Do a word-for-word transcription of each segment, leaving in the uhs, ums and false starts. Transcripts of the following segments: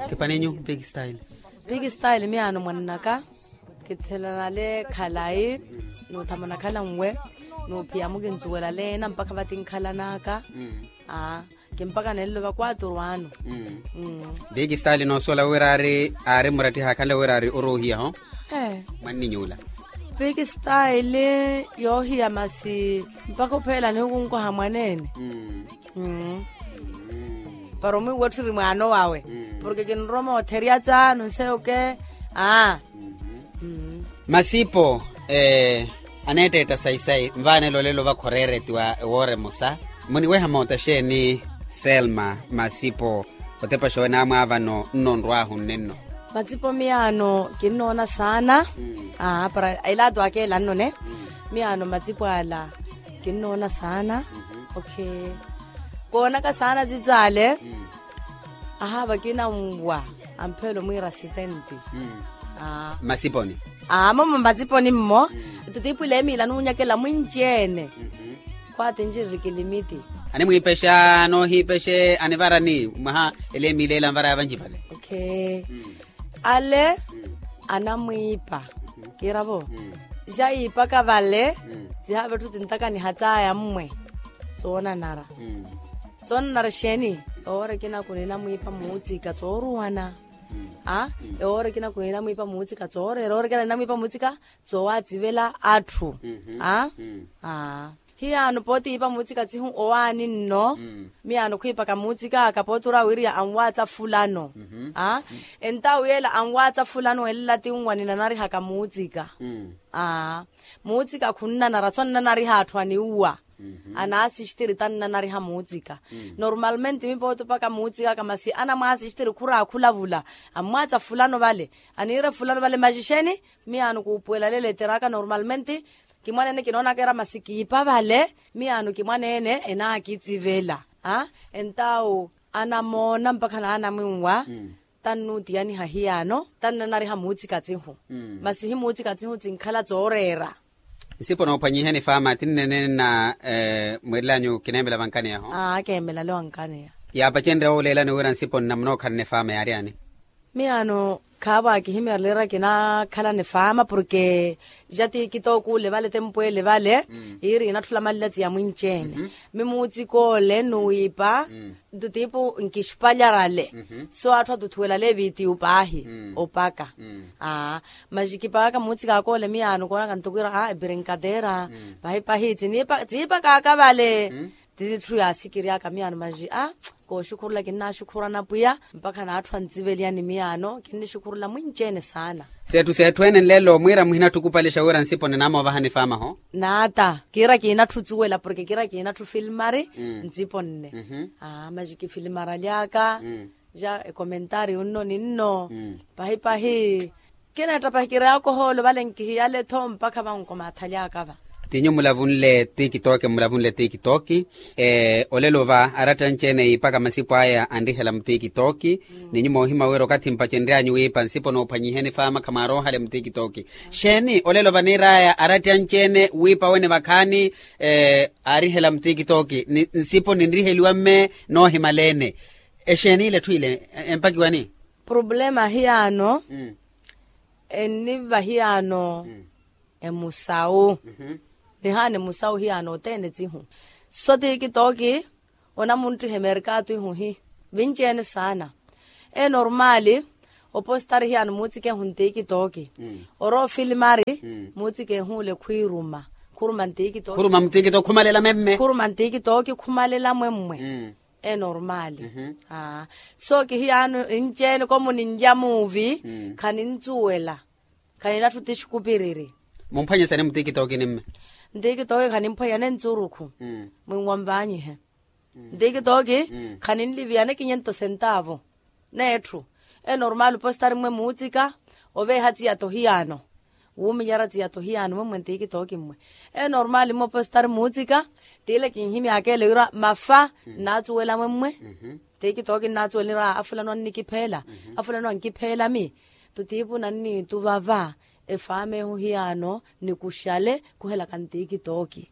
Kipanenyu big style. Big style miyaano mwannaka. Kithelana le khalayi, n'uthamana khalanwe, n'uphiya mukincuwela leena mpakha vatinkhalanaka. Aa, kimpaka nenlova kwaturu anu. Big style noosuwela wira aari murattiha akhanle wira aari oruuhiyaho. Mwanninyuula. Big style yoohiya masi mpakha opheela nihukunkoha mwaneene. Para omwiiwa etthu eri mwaano wawe. Porke kinrowa mootherya tsaanu nseyo ke. Aa. Masipo aneetteetta sayi-sayi nvaanela olelo vakhoreeretiwa ewoora emosa. Muniweha moota xeeni? Selma masipo, otepaxa wenamwaavano nnonrwaahu nnenno. Masipo miyaano kinnoona saana. Para elaatu akeela nnone. Miyaano masipo ala kinnoona saana. Okay. Koonaka saana tsitsaale. Ahaava kina nwa ampheelo mwiira asitenti. Mmasiponi. Aa momo mmasiponi mmo. Tutiipwile emiila nuunyakela mwinci-ene. Khwaati ncinrikilimitti. Animwiipexa noohiipexe anivarani mwaha ele emiila ela anvaraya vanci vale. Okay. Ale anamwiipa. Kiiravo. Xa yiipaka vale. Tsihaava etthu tsintakaniha tsaya mmwe. Tsoonanara. Tsoonanara exeeni? Owoora ekina kuninamwiipa muutsika tsooruwana. Aa. Owoora ekina kuninamwiipa muutsika tsooreera owoora ekina ninamwiipa muutsika tsoowatsivela atthu. Aa. Hiyaano pooti yiipa muutsika tsihu owaani nno. Miyaano khwiipaka muutsika aka pooti ora wiriya anwaatsa fulano. Aa. Entawu yeela anwaatsa fulano elela tinwa ninanarihaka muutsika. Aa. Muutsika khunnanara so nnanariha atthu aniuwa. Anaasistiri tannanariha muutsika. Normalmente mipooti opaka muutsika aka masi anamwaasistiri khuraakhula vula. Ammwaatsa fulano vale. Aniire fulano vale maxixeni. Miyaano kuupuwela leletera aka normalmente. Kimwaneene kinoonaka era masi kiipa vale. Miyaano kimwaneene enaakitsivela. Entawu anamoona mpakha naanamwinwa. Tannuutiyaniha hiyaano tannanariha muutsika tsihu. Masi hi muutsika tsihu tsinkhala tsooreera. Nsipo noophwanyiheni faama tinneene na mwiirelanyu kineemela vankaneyaho. Aa keemela le wankaneya. Yaapacenrya wooleelani wira nsipo nnamuna okhalana efaama yaari ani? Miyaano khaavo akihimeerelera kinakhalana efaama porke ja tikitoki ole vale tempu ele vale. Yiiri inatthula malila tsiya mwinci-ene. Mi muutsika ole nuwiipa. Ntutiipu nkixpalyarale. So atthu atuthuwelale evitiyu paahi opaka. Aa. Maxi kipakaka muutsika akoole miyaano koonaka ntukwira a ebrinkatera. Pahi pahi tsiipakaka vale. Titthu yaasikiryaka miyaano maxi a kooxukhurula kinnaxukhurana pwiya mpakha n'atthu antsiveliyani miyaano kinnixukhurula mwinci-ene saana. Seetthu seetthu ene nlelo mwiira muhinatthukupalixa wira nsipo ninamoovahani faamaho. Naata kiira kiinatthu tsuwela porke kiira kiinatthu filmari. Ntsipo nne. Aa maxi kifilmaralyaka ja ekomentaari unno ninno. Pahi pahi kineetta pahi kireyaka ohoolo vale nkihiyale-tho mpakha vankomaathalyaka va. Tinyu mulavunle tikitoki mulavunle tikitoki. Olelo va aratta anci-ene yiipaka masipo aya anrihela mutikitoki. Ninyu moohima wira okathi mpacenry'anyu wiipa nsipo noophwanyiheni faama khamwaaroohale mutikitoki. Xeeni olelo vaniir'aya aratta anci-ene wiipa wene vakhaani aarihela mutikitoki nsipo ninriheliwa mme noohimaleene. Exeeni ile etthu ile empakiwani? Problema hiyaano enniva hiyaano emusawu. Nihaana emusawu hiyaano othene tsihu. So tikitoki onamunttiha emerkatu ihu hi vinci-ene saana. Enormaali opositari hiyaano muutsikehu ntikitoki. Oroofilmari muutsikehu ole khwiiruma khuruma ntikitoki. Khuruma ntikitoki khumalela memme khuruma ntikitoki khumalela mwemmwe. Enormaali. So kihiyaano nci-ene komuninlya muuvi khanintsuwela. Khaninatthu tixukupiriri. Mumphwanyesani mutikitoki ni mme? Ntikitoki khanimphwanyane ntsurukhu. Mwinwa mvaanyihe. Ntikitoki khaninliviyane kinyento sentaavu. Neetthu enormaali opositari mmwe muutsika oveeha tsiyatho hiyaano. Wuumilyara tsiyatho hiyaano mwemmwe ntikitoki mmwe. Enormaali mmwe opositari muutsika tiile kinhimyaka ele wira mafa nnaatsuwela mwemmwe. Ntikitoki nnaatsuwela nira afulano annikipheela. Afulano ankipheela mi tutiipu nanniituvava. Efaama ehu hiyaano nikuxale khuhelaka ntikitoki.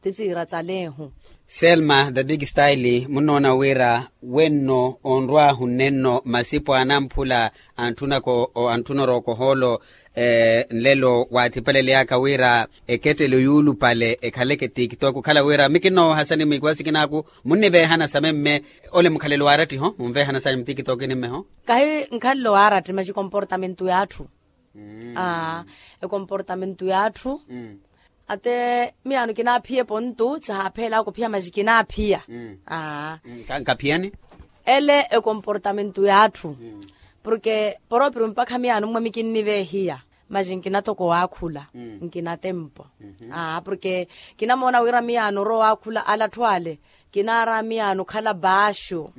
Ti tsiira tsaleehu. Selma the big style munnoona wira wenno onrwaahu nnenno masipo a anamphula antthunaka antthuna orooka ohoolo nlelo waathipaleleyaka wira ekettelo yuulupale ekhaleke tiktok okhala wira mikinno wahasani mwiikiwa sikinaaku munniveehana same mme ole mukhalelo waaratti ho munveehana same mtikitokini mmeho. Kahi nkhalelo waaratti maxi ekomportamento y'atthu. Aa ekomportamento y'atthu. Ate miyaano kinaaphiya epontu tsihaapheyelaka ophiya maxi kinaaphiya. Aa nkaphiyani ele ekomportamento y'atthu. Porke poropiro mpakha miyaano mmwe mikinniveehiya maxi nkina toko waakhula nkina tempo. Aa porke kinamoona wira miyaano orowa waakhula ala atthu ale kinaara miyaano okhala baaxu.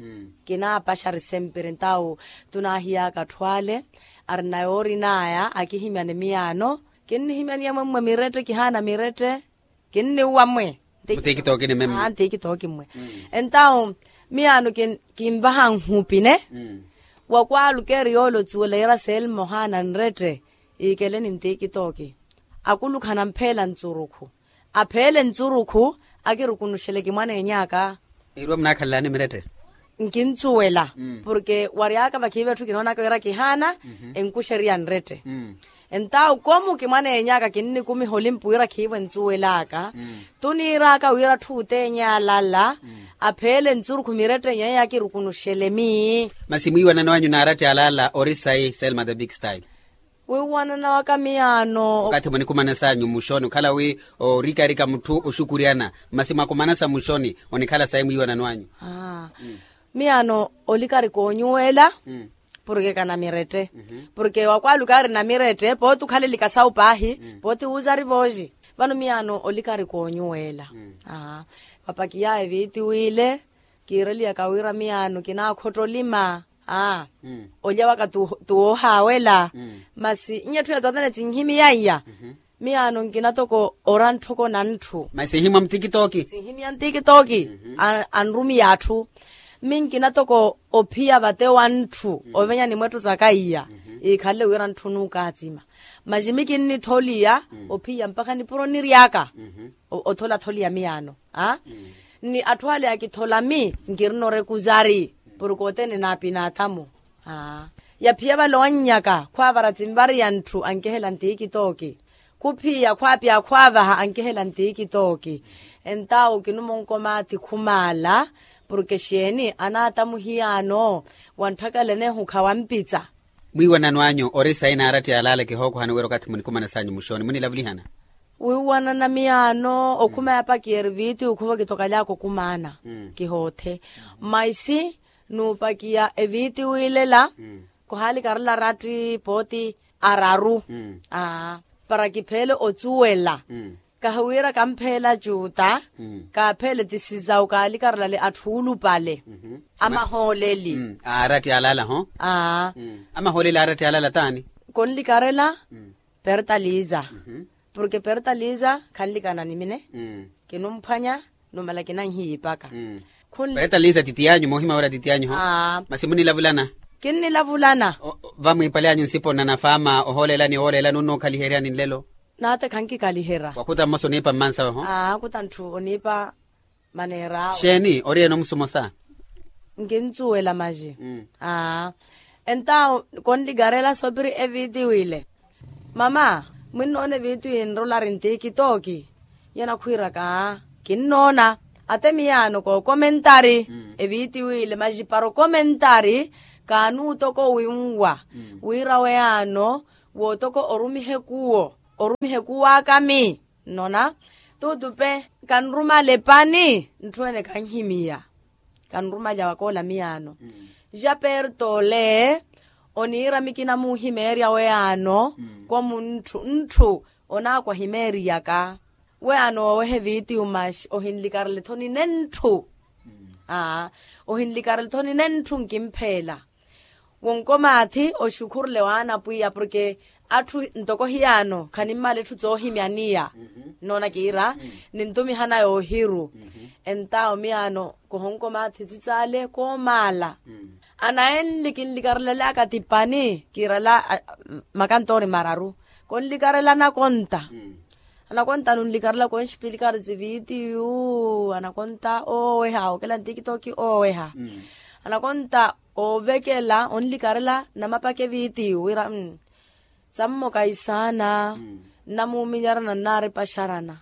Kinaapaxari sempre entawo tunaahiyaka atthu ale arina yoorin'aya akihimyane miyaano. Kinnihimyaniya mwe mmwe mirette kihaana mirette. Kinniwa mwe ntikitooki mmwe entawo miyaano kinvaha nhupine. Wakwalukeeri yoole otsuwela yira selma ohaana nrette iikeleni ntikitooki akulukhana mpheela ntsurukhu apheele ntsurukhu akirukunuxele kimwaneeny'aka. Erwa munaakhalelani mirette nkintsuwela porke wary'aka vakhiive etthu kinoonaka wira kihaana enkuxeriya nrette. Entawo komu kimwaneeny'aka kinnikumiha olimpu wira khiivo entsuwel'aka tuniir'aka wira atthu othene alala apheele ntsurukhu mirette nyeye akirukunuxele mii. Masi mwiiwanano anyu n'aratti alala ori sayi selma the big style. Wiiwanana waka miyaano okathi munikumanas'anyu muxoni okhala wi orikarika mutthu oxukuryana masi mwakumanasa muxoni onikhala sayi mwiiwanano anyu. Miyaano olikari koonyuwela porke kana mirette porke wakwaluka ari na mirette pooti okhalelika sawu paahi pooti wuuza ari vooxi. Vano miyaano olikari koonyuwela. Vapakiya eviitiwile kiireliyaka wira miyaano kinaakhotta olima. Aa olya waka tuwoohaawela masi nnya etthu ya tothene tsinhimiya iya. Miyaano nkina toko ora ntthoko na ntthu masi ehimwa mtikitooki sinhimiya ntikitooki anrumiya atthu. Mmi nkina toko ophiya vate wa ntthu ovenya ni mwettho saka iya iikhalele wira ntthu nuukaatsima. Masi mmi kinnitholiya ophiya mpakha nipuro niry'aka otholatholiya miyaano. Ni atthu ale akithola mmi nkirina orekuzari porke othene naapinaathamu. Yaphiya vale owannyaka khwaavara tsinvariya ntthu ankehela ntikitooki khuphiya khwaapya khwaavaha ankehela ntikitooki. Entawo kinumonkomaathi khumaala porke xeeni anaatamu hiyaano wantthakalenehu khawampitsa. Mwiiwanano anyu ori sayi n'aratti alaala kihookohani wira okathi munikumanas'anyu muxooni munilavulihana. Wiiwanana miyaano okhuma yapakiya eriviti okhuva kitokaly'aka okumaana kihoothe. Maisi nuupakiya eviti wiilela kohaalikarela aratti pooti araru para kipheele ocuwela kahiwira kampheela cuuta kaapheele tisizawu kaalikarelale atthu oolupale amahooleli. Aaratti alaala ho. Amahooleli aaratti alaala taani? Konlikarela pertaliza porke pertaliza khanlikana ni mine kinumphwanya numala kinanhiipaka. Khunli pertaliza titiyanyu moohima wira titiyanyu ho. Masi munilavulana kinnilavulana vamwiipale anyu nsipo nnanafaama ohoolelani woolelani onnuukhaliheryani nlelo. Naate khankikaliherya wakhuta mmosa oniipa mmansawe ho. Akhuta ntthu oniipa maneer'awe xeeni ori ene omusumosa nkintsuwela maxi. Aa entawo konlikarela soopiri eviti wile mama mwinnoona eviti winrolari ntikitooki. Nyana khwiiraka kinnoona ate miyaano kookomentari eviti wile maxi para okomentari kaanuutoko winwa wira weyaano wootoko orumihe kuwo orumihe kuw'aka mi nnona tutupe kanrumale pani ntthu ene kanhimiya kanrumalya wakoola miyaano. Ja perto ole oniira mikina muuhimeerya weyaano komu ntthu ntthu onaakwahimeeriyaka weyaano wooweha evitiyu maxi ohinlikarela ethoni nene ntthu. Aa ohinlikarela ethoni nene ntthu nkimpheela wonkomaathi oxukhurule waana pwiya porke atthu ntoko hiyaano khanimmala etthu tsoohimyaniya nnoona kiira nintumihana yoohiru. Entawo miyaano kohonkomaathi tsitsale koomaala anayenli kinlikarelelaka tipani kiirala makantoori mararu konlikarela nakonta Anakonta nunlikarela konxipilikari zivitiyu anakonta ooweha okela ntikitoki ooweha. Anakonta oovekela onlikarela namapaka evitiyu wira tsammo kahisaana nnamuuminyarana nnaaripaxarana.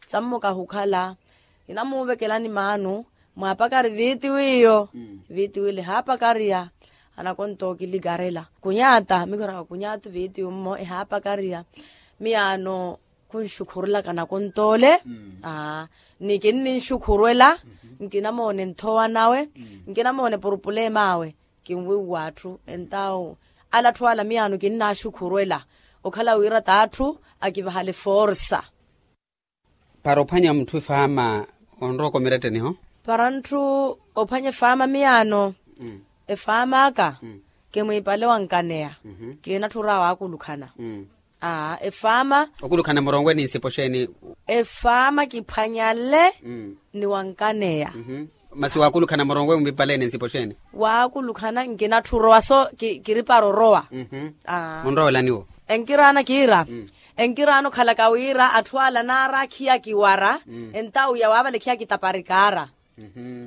Tsammo kahukhala kinamuuvekelani maanu mwaapakari vitiyu iyo. Vitiyu ile ehaapakariya anakonta okilikarela kunyaata mikhoraka kunyaata vitiyu mmo ehaapakariya. Miyaano khunxukhurulaka nakonta ole. Ni kinninxukhurwela nkinamoone nthowa nawe nkinamoone purupulema awe. Kinwiiwa atthu entawu ala atthu ala miyaano kinnaaxukhurwela okhala wira t'atthu akivahale forsa. Para ophwanya mutthu efaama onrowa okomeretteniho. Para ntthu ophwanya efaama miyaano efaama aka kimwiipale wankaneya. Kiinatthura waakulukhana aa efaama. Okulukhana muronwe ni nsipo xeeni? Efaama kiphwanyale ni wankaneya. Masi waakulukhana muronwe mwiipale ni nsipo xeeni? Waakulukhana nkinatthi orowa so kiri para orowa. Munrowelaniwo enkiraana kiira enkiraana okhalaka wira atthu ala naara akhiya kiwara entawu ya waavalekhiya kitaparikaara.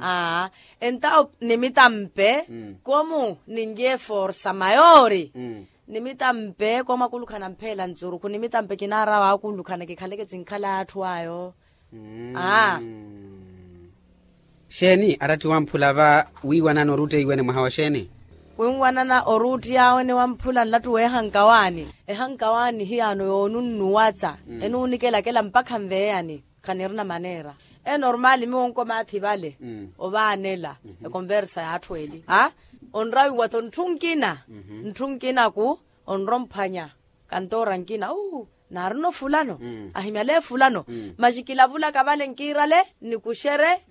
Aa entawo nimitampe komu ninlye forsa mayori. Nimitampe komu akulukhana mpheela ntsurukhu nimitampe kinaara waakulukhana kikhaleke kinkhala atthu ayo. Aa. Xeeni aratti wamphula va wiiwanana oruutti eiwene mwaha wa xeeni? Winwanana oruutti awe ni wamphula nlattu weehankawaani. Ehankawaani hiyaano yoonunnuwatsa enuunikelakela mpakha nveeyani. Khanirina maneera enormaali miwo onkomaathi vale ovaanela ekonversa y'atthu eli a onrawiwa-tho ntthu nkina ntthu nkinaku onromphwanya kantoora nkina uu naarina ofulano ahimyale efulano. Maxi kilavulaka vale nkiirale nikuxere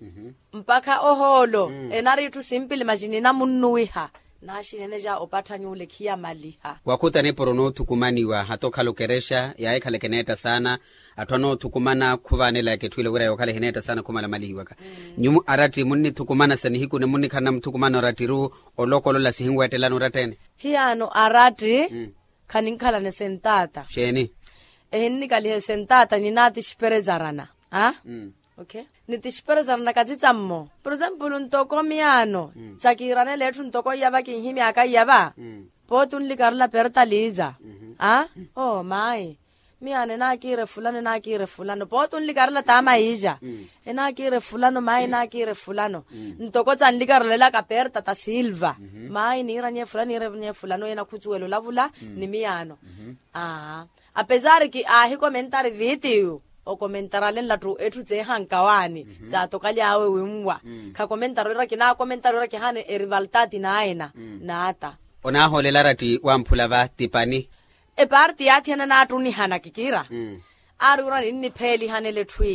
mpakha ohoolo enari itthu simpili maxi ninamunnuwiha. Naaxinene ja opattha nyuula ekhiyamaliha. Wakhuta nipuro noothukumaniwa hata okhala okerexa yaahikhala ekeneetta saana. Atthu anoothukumana khuvaanelaka etthu ila wira yookhala ehineetta saana khumalamalihiwaka. Nyumu aratti munnithukumana sa nihiku ni munnikhalana muthukumana orattiru olokolola sihinweettelana oratta-ene? Hiyaano aratti khaninkhalana esentaata. Xeeni? Ehinnikaliha esentaata ninaatixiperezarana a. Nitixiperezarana katsitsa mmo por exempulu ntoko miyaano tsakiiranela etthu ntoko iyava kinhimyaka iyava. Pooti onlikarela perta liiza a oo maayi miyaano enaakiira efulano enaakiira efulano pooti onlikarela taama yiixa. Enaakiira efulano maayi enaakiira efulano ntoko tsanlikarelelaka perta ta silva. Maayi niiranye efulano niiranye efulano yeena khutsuwela olavula ni miyaano. Aa apesar ki aahikomentari vitiyu okomentarale nlattu etthu tseehankawaani tsaatokaly'awe winwa. Khakomentari wira kinaakomentari wira kihaana erivaltati naayena naata. Onaahoolela aratti wamphula va tipani. Eparti yaathiyana naattunihana kikiira aari wira ninnipheelihanela etthu ila.